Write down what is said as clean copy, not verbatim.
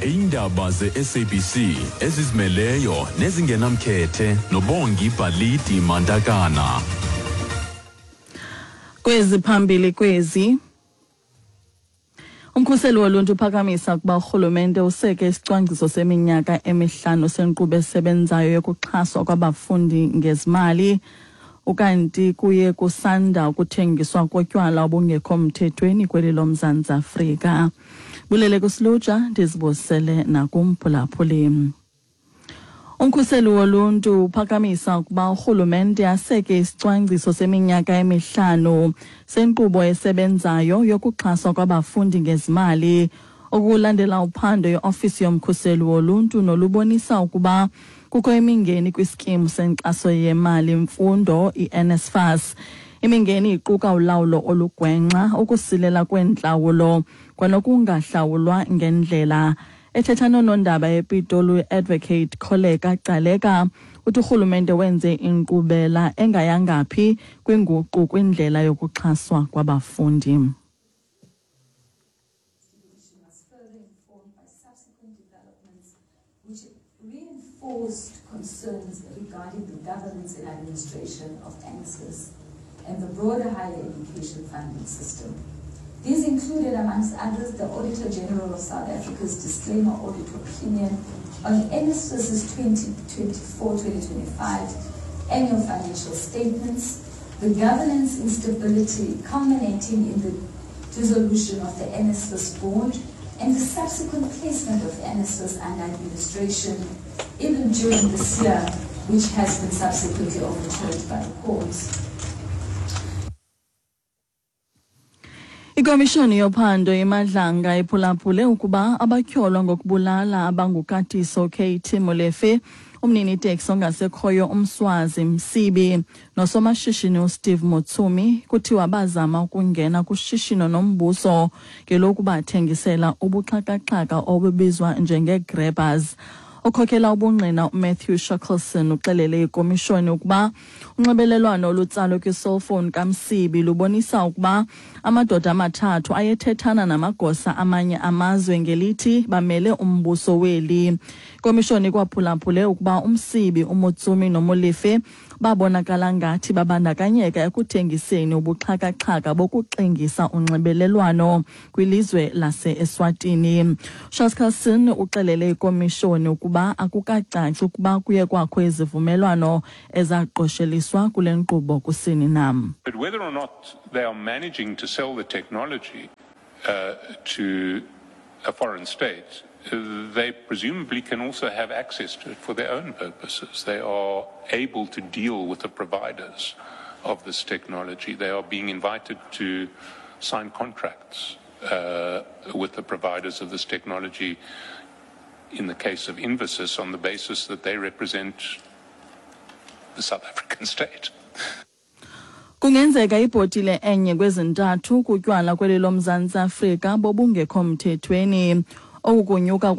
Iindaba ze-SABC ezizimeleyo nezingenamkhethe noBongi Bhalidi Mantakana. Kwezi phambili kwezi. Umkhuseli woluntu uphakamisa ukuba urhulumente useke isicwangciso seminyaka emihlanu senkqubo esebenzayo yokuxhaswa kwabafundi ngezimali. Ukanti kuye kusanda ukuthengiswa kotywala obungekho mthethweni kweli loMzantsi Afrika. Bulele kusilutsha, ndizibusele nakumphulaphuli. Umkhuseli woluntu uphakamisa ukuba urhulumente aseke isicwangciso seminyaka emihlanu senkqubo esebenzayo yokuxhaswa kwabafundi ngezimali. Okulandela uphando yeofisi yomkhuseli woluntu nolubonisa ukuba kukho imingeni kwisikimu senkxaso yemali mfundo iNSFAS. Imingeni iquka ulawulo olugwenxa, ukusilela kweentlawulo kwanokungahlawulwa ngendlela. Ethetha noonondaba ePitoli, uAdvocate Kholeka Gcaleka uthi urhulumente wenze inkqubela engayangaphi kwinguqu kwindlela yokuxhaswa kwabafundi. Which reinforced concerns regarding the governance and administration of NSFAS and the broader higher education funding system. These included, amongst others, the Auditor General of South Africa's disclaimer audit opinion on NSFAS's 2024-2025 annual financial statements, the governance instability culminating in the dissolution of the NSFAS board, and the subsequent placement of NSFAS under administration, even during this year, which has been subsequently overturned by the courts. Ikomishoni yophando iMadlanga iphulaphule ukuba abatyholwa ngokubulala abanguKatiso KT Molefe, umnini-teksi ongasekhoyo uMswazi Msibi nosomashishini uSteve Motsumi kuthiwa bazama ukungena kushishino nombuso ngelokubathengisela ubuxhakaxhaka obubizwa njengee-grabbers. Okhokela ubungqina uMatthew Shackleson uxelele ikomishoni ukuba unxibelelwano olutsalwe kwiselfowuni kaMsibi lubonisa ukuba amadoda amathathu ayethethana namagosa amanye amazwe ngelithi bamele umbuso weli. Ikomishoni ikwaphulaphule ukuba uMsibi, uMotsumi noMolefe babonakala ngathi babandakanyeka ekuthengiseni ubuxhakaxhaka bokuxingisa unxibelelwano kwilizwe lase-Eswatini. Shackleson uxelele ikomishoni ukuba akukacaci ukuba kuye kwakho izivumelwano ezaqosheliswa kule nkqubo kusini na. But whether or not they are managing to sell the technology to a foreign state, they presumably can also have access to it for their own purposes. They are able to deal with the providers of this technology. They are being invited to sign contracts with the providers of this technology, in the case of Invensys, on the basis that they represent the South African state. Kungenzeka ibhotile enye kwezintathu kutywala kweli loMzantsi Afrika bobungekho mthethweni. Oku kunyuka.